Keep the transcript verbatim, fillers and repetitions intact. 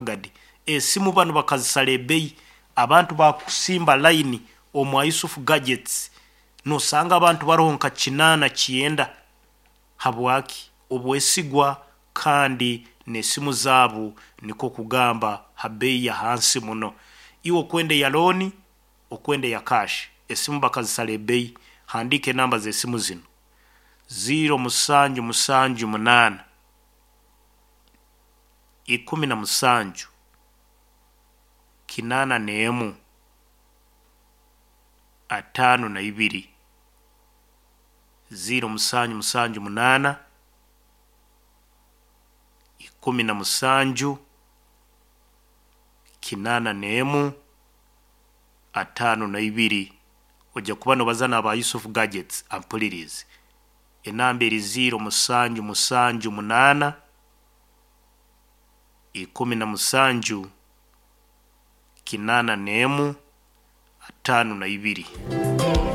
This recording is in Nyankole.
Gadi esimu bano bakazisala ebeeyi, abantu bakusimba layini omwa Yusufu Gadgets, nosanga abantu baroho nka kinaana kyenda. Habwaki? Obwesigwa kandi n'esimu zaabu nikwo kugamba ha beeyi ya hansi muno. Iwe okwenda eya looni, okwenda eya cash, esimu bakazisara ebeeyi. Handiika enamba z'esimu zinu: ziro musanju musanju munaana, ikumi na musanju, kinaana n'emu, ataano na ibiri, ziro musanju musanju munaana, ikumi na musanju, kinaana n'emu, ataano na ibiri. Ojja kuba nobaza n'aba Yusufu Gadgets ampuliriize. Enamba eri ziro musanju musanju munaana, ikumi na musanju, kinaana n'emu, ataano na ibiri.